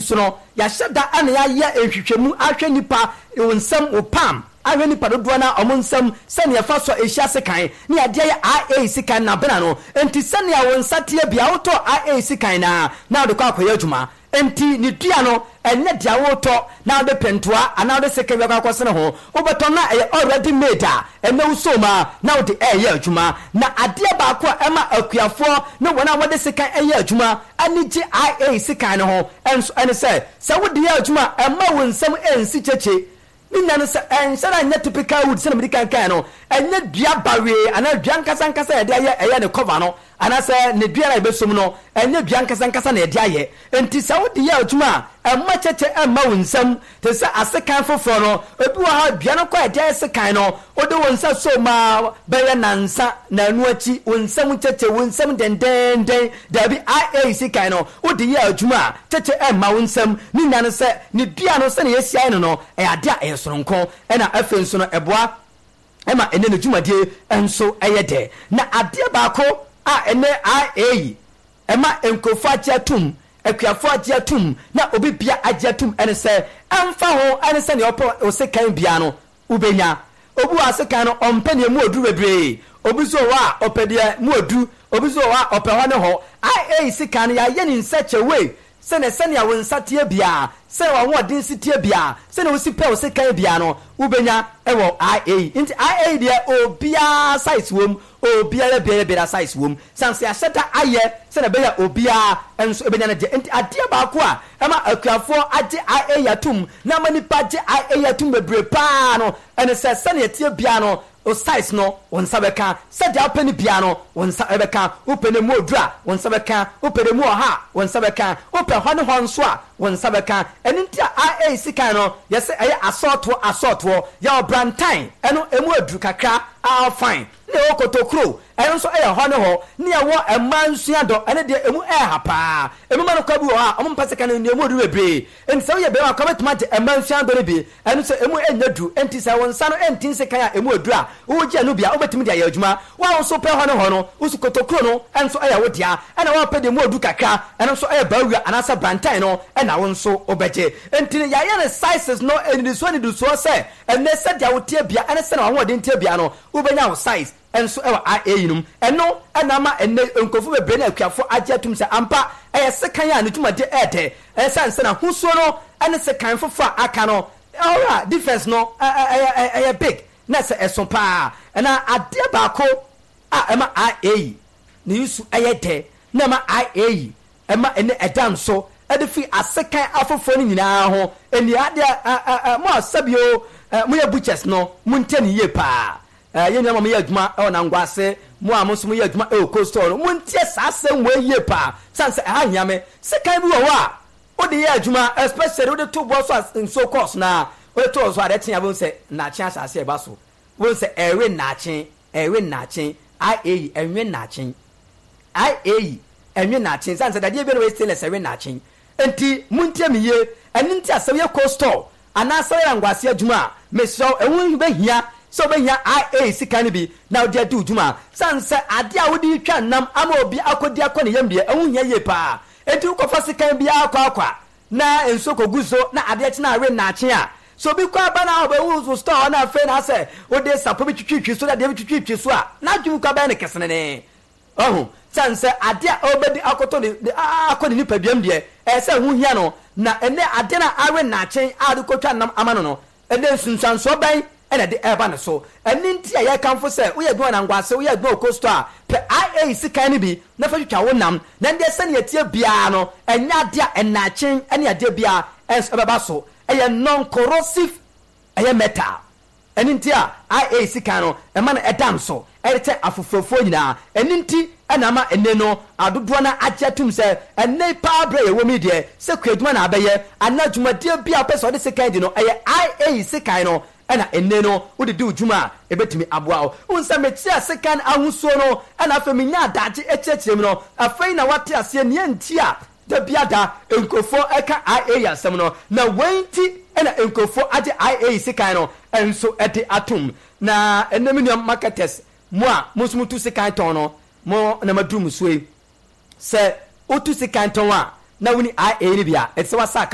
So no, yɛahyɛ da na yɛayɛ nhwehwɛmu ahwɛ nnipa wo nsam, wo palm, ahwɛ nnipa dodoɔ no ara wɔn nsam sɛnea ɛfa so a ɛhyia sekan ne yɛde ayɛ IA sekan no abena no. Enti sɛnea wo nsa teɛ biara wotɔ IA sekan no ara na wode kɔ akɔyɛ adwuma. Enti ne dua no, ɛnyɛ dea woretɔ na wode pentoa anaa wode sekan bi akɔ akɔsene ho. Wobɛtɔ no a ɛyɛ already made a ɛnnɛ wosɔ mu ara na wode reyɛ adwuma. Na adeɛ baako a ɛma akuafoɔ ne wɔn a wɔde sekan yɛ adwuma ani gye IA sekan no ho nso ne sɛ, sɛ wode yɛ adwuma a, ɛmma wo nsam nsi kyekye. Ne nyinaa ne sɛ, ɛnhyɛ da nyɛ typical wood sɛdeɛ mede kan kaeɛ no, ɛnyɛ dua bawee anaa dua ankasa ankasa a yɛde ayɛ ɛyɛ ne cover no anaasɛ ne dua no a yɛbɛsom no, ɛnyɛ dua ankasa ankasa na yɛde ayɛ. Enti sɛ wode yɛ adwuma a, ɛmma kyɛkyɛ mma wo nsam te sɛ asekan foforɔ no. Ebi wɔ hɔ a, dua no kɔ a yɛde ayɛ sekan no, wode wo nsa sɔ mu ara bɛyɛ nnansa, nnanu akyi, wo nsam kyɛkyɛ, wo nsam dendenden. Dabi, IA sekan no, wode yɛ adwuma a, kyɛkyɛ mma wo nsam. Ne nyinaa ne sɛ, ne dua no, sɛnea yɛasi ayɛ no no, ɛyɛ ade a ɛyɛ soronko, ɛnna afei nso no, ɛboa ma ɛne ne dwumadie nso yɛ dɛ. Na adeɛ baako a ɛnɛ IA yi ɛma nkurɔfoɔ agye atum, akuafoɔ agye atum, na obi bia agye atum ɛne sɛ, ɛmfa ho ɛne sɛdeɛ ɔpɛ wo sekan biara no, wobɛnya. Obi wɔ ha sekan no ɔmpɛ deɛ mu ɔduru bebree, obi nso wɔ hɔ a ɔpɛ deɛ mu ɔdu, obi nso wɔ hɔ a ɔpɛ hɔ ne hɔ. IA sekan no yɛayɛ no in such a way sɛnea sɛnea wo nsa teɛ biara, sɛnea w'ahoɔden si teɛ biara, sɛnea wosi pɛ wo sekan biara no, wobɛnya wɔ IA. Nti IA deɛ obiara size wom, obiara biara biara size wom. Sane sɛ yɛahyɛ da ayɛ sɛnea ɛbɛyɛ a obiara nso bɛnya ne deɛ. Nti adeɛ baako a ɛma akuafoɔ agye IA atom na ama nnipa agye IA atom bebree pa ara no ne sɛ sɛnea ɛteɛ biara no, wo size no, wo nsa bɛka. Sɛdeɛ wopɛ no biara no, wo nsa bɛka. Wopɛ no emu oduru a, wo nsa bɛka. Wopɛ no emu ɔha a, wo nsa bɛka. Wopɛ hɔ ne hɔ nso a, wo nsa bɛka. Ɛno nti a IA sekan no, yɛse ɛyɛ asɔɔtoɔ asɔɔtoɔ. Yɛwɔ brantan, ɛno emu aduru kakra, ah fine. Ne ɛwɔ kotokuro, ɛno nso yɛ hɔ ne hɔ. Ne ɛwɔ mmaa nsua dɔ, ɛno deɛ ɛmu ɛha paa. Ɛmu ma no kwa bi wɔ hɔ a, wɔn mpɛ sekan no, nea ɛmu oduru bebree. Enti sɛ woyɛ barima koraa wobɛtumi agye mmaa nsua dɔ no bi. Ɛno nso ɛmu nyɛ duru. Enti sɛ wo nsa no nte nsekan a ɛmu oduru a, wogye ɛno bi a, wobɛtumi de ayɛ adwuma. Wo a wo nso wopɛ hɔ ne hɔ no, wo nso kotokuro no nso yɛ wo dea. Ɛna wo a wopɛ deɛ ɛmu oduru kakra, ɛno nso yɛ bawura anaasɛ brantan no na wo nso wobɛgye. Enti no yɛayɛ no sizes no nnidisoɔ nnidisoɔ sɛ ɛnnɛ sɛdeɛ woteɛ bia ɛne sɛdeɛ w'ahoɔden teɛ bia no, Wobɛnya wo size nso wɔ IA yinom. Ɛno na ama ɛnnɛ nkurɔfo bebree ne akuafo agye atom sɛ ampa ɛyɛ sekan a ne dwumadi yɛ dɛ. Ɛsiane sɛ n'ahosuo no ne sekan foforɔ a aka no ɔra difference no ɛyɛ big na sɛ ɛso paa. Na adeɛ baako a ɛma IA yi ne nsu yɛ dɛ na ɛma IA yi ɛma ɛnnɛ ɛda nso de firi asekan afoforɔ no nyinaa ho nie. Adeɛ mo a sɛbio moyɛ butchers no, montie no yie paa. Yɛn nuanom a moyɛ adwuma wɔ Nangwa ase, mo a mo nso moyɛ adwuma wɔ Cold Store no, montie saa asɛm wei yie paa, sane sɛ ɛha hia me. Sekan bi wɔ hɔ a wode yɛ adwuma, especially wode to boɔ so a nsuo kɔɔ so no a, wode to so a adeɛ kye a wobɛhu sɛ nnaakye ahyɛ aseɛ reba so. Wobɛhu sɛ ɛrewe nnaakye, ɛrewe nnaakye, IAyi, ɛnwe nnaakye. IAyi, ɛnwe nnaakye. Sane sɛ dadeɛ biara wɔ stainless ɛwe nnaakye. Enti montie me yie, ɛno nti a sɛ woyɛ cold store anaa sɛ woyɛ anguase adwuma a, mesrɛ wo, ɛho bɛhia sɛ wobɛhia IA sika no bi na wode adi wo dwuma. Sane sɛ adeɛ a wode retwa nam ama obi akɔdi akɔ ne yam deɛ, ɛho hia yie pa ara. Enti wokɔfa sekan biara kwaakwa na nsuo kɔgu so na adeɛ kye na awe nnaakye a, sɛ obi kɔ aba na ɔbɛhu wo store hɔ na afei na asɛ wode sapɔ bi twitwitwi so de adeɛ bi twitwitwi so a, n'adwene koraa bɛyɛ no kesenenee. Wahu? Sane sɛ adeɛ a ɔrebɛdi akɔtɔ ne, ne, akɔ ne nipaduam deɛ, ɛyɛ sɛ ɛho hia no. Na ɛnnɛ adeɛ no a awe nnaakye a ɔde kɔtwa nam ama no no, ɛnnɛ nsunsuansoɔ bɛn na ɛde reba ne so? Ɛno nti a yɛkamfo sɛ woyɛ adwuma wɔ Nangwase, woyɛ adwuma wɔ Coastal a, pɛ IA sekan no bi na fa twitwa wo nam. Na ɛndeɛ sɛdeɛ ɛteɛ biara no, ɛnyɛ adeɛ a nnaakye ne adeɛ biara nso ɛbɛba so. Ɛyɛ non-corrosive, ɛyɛ metal. Ɛno nti a IA sika no ɛma no ɛda nso ɛde kyɛ afoforɔfoɔ nyinaa. Ɛno nti na ama ɛnnɛ no adodoɔ no ara agye atum sɛ ɛnnɛ yi paa berɛ a yɛwɔ mu yi deɛ sɛ kuadwuma na abɛyɛ anaa dwumadie bi a wopɛ sɛ wode sekan di no ɛyɛ IA sekan no na ɛnnɛ no wode di wo dwuma a ɛbɛtumi aboa wo. Wohu sɛ mekyerɛɛ sekan ahosuo no na afei menyaa daakye kyerɛkyerɛ mu no afei na woate aseɛ nea nti a Da biara da, nkurɔfoɔ ka IAEA asɛm no, na wei nti na nkurɔfoɔ agye IAEA sekan no nso de atom. Na ɛnnɛ me nua marketers, mo a mo nso motu sekan tɔn no, mo na maduru mo so yi. Sɛ wotu sekan tɔn a, na wonni IAEA no bi a, ɛte sɛ woasa aka.